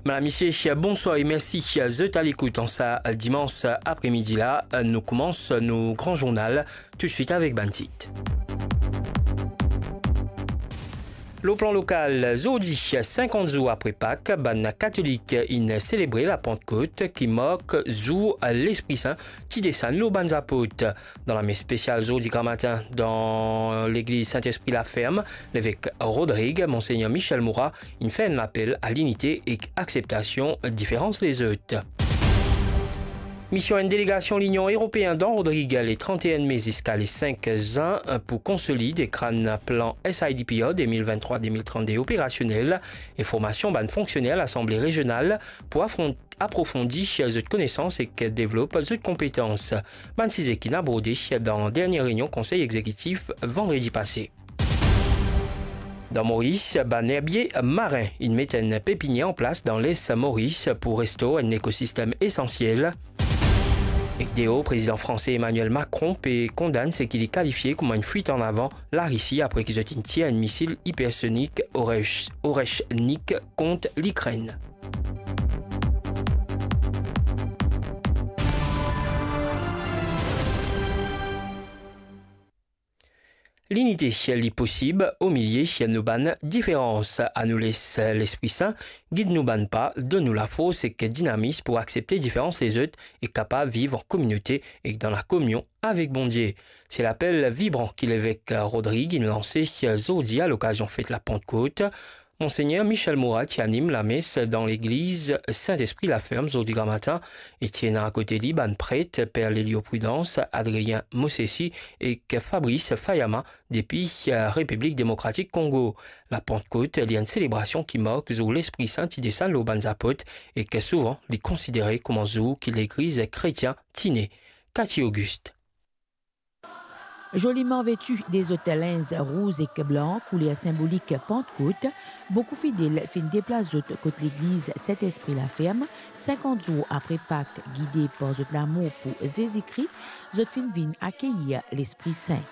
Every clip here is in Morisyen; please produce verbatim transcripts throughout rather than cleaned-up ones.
Madam, misie, bonswar e mersi zot alekout an sa dimans apremidi la. Nou koumans nou gran zournal toutswit avek bann tit. Lor plan lokal, zordi, sinkant zour apre Pak, bann katolik inn selebre Lapantkot, ki mark zour Lespri Sin ti desann lor bann zapot. Dan lames spesial zordi gramatin dan legliz Sint-Espri Laferm, levek Rodrig, Monsegner Michel Moura, inn fer enn lapel a linite ek akseptasion diferans lezot. Mision enn delegasion Linion Eropeen dan Rodrig le trant-e-enn me ziska le sink zin pou konsolid ek rann plan S I D P R de mil vinn-trwa de mil trannde operasionel e formasion bann fonksioner Lasanble Rezional pou afron-, aprofondi zot konesans ek devlop zot konpetans. Bann size ki'nn aborde dan dernie reynion Konsey Egzekitif vandredi pase. Dan Moris, bann erbie marin inn met enn pepinier anplas dan Les Moris pou restor enn ekosistem esansiel. Ek deor, Prezidan franse Emmanuel Macron pe kondann seki li kalifie kouma enn fwit an avan Larisi apre ki zot inn tir enn misil ipersonik Oresh-, Oreshnik kont Likrenn. Linite, li posib omilie nou bann diferans. Anou les Lespri Sin gid nou bann pa, donn nou lafors ek dinamis pou aksepte diferans lezot e kapav viv an kominote ek dan lakominion avek Bondie. Se lapel vibran ki levek Rodrig inn lanse zordi a lokazion fet Lapantkot. Monsegner Michel Moura ti anim lames dan legliz Sint-Espri Laferm zordi gramatin e ti ena akote li bann pret, Per Lelio Prudence, Adrien Mosesi ek Fabrice Fayama depi, eh, Repiblik Demokratik Kongo. Lapantkot, li enn selebrasion ki mark zour Lespri Sin ti desann lor bann zapot e ki souvan li konsidere kouma zour ki Legliz kretien ti ne. Cathy Auguste. Zoliman veti de zot linz rouz ek blan, kouler sinbolik Pantkot, boukou fidel finn deplas zot kot legliz Sint-Espri Laferm, sinkant zour apre Pak, gide par zot lamour pou Zezi Kri, zot finn vinn akeyir Lespri Sin.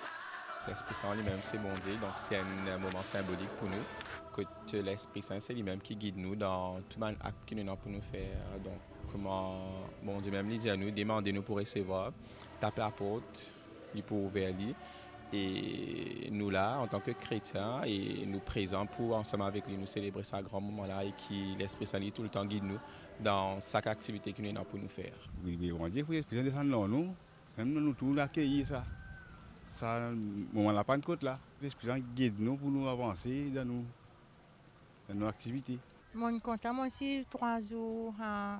Lespri Sin limem se Bondie, donk se enn moman sinbolik pou nou, kot Lespri Sin se limem ki gid nou dan tou bann akt ki nou ena pou nou fer. Donk, kouma Bondie mem li dir nou, demande, nou pou resevwar, tap laport, li pou ouver li. E nou la, antan ki kretien, e nou prezan pou ansam avek li, nou selebre sa gran moman la, e ki Lespri Sin li toultan gid nou dan sak aktivite ki nou ena pou nou fer. Wi, wi, Bondie, wi, Lespri Sin desann lor nou, mem nou, nou tou nou akeyir sa, sa moman Lapantkot la. Lespri Sin gid nou pou nou avanse dan nou, dan nou aktivite. Monn kontan, monn swiv trwa zour, a,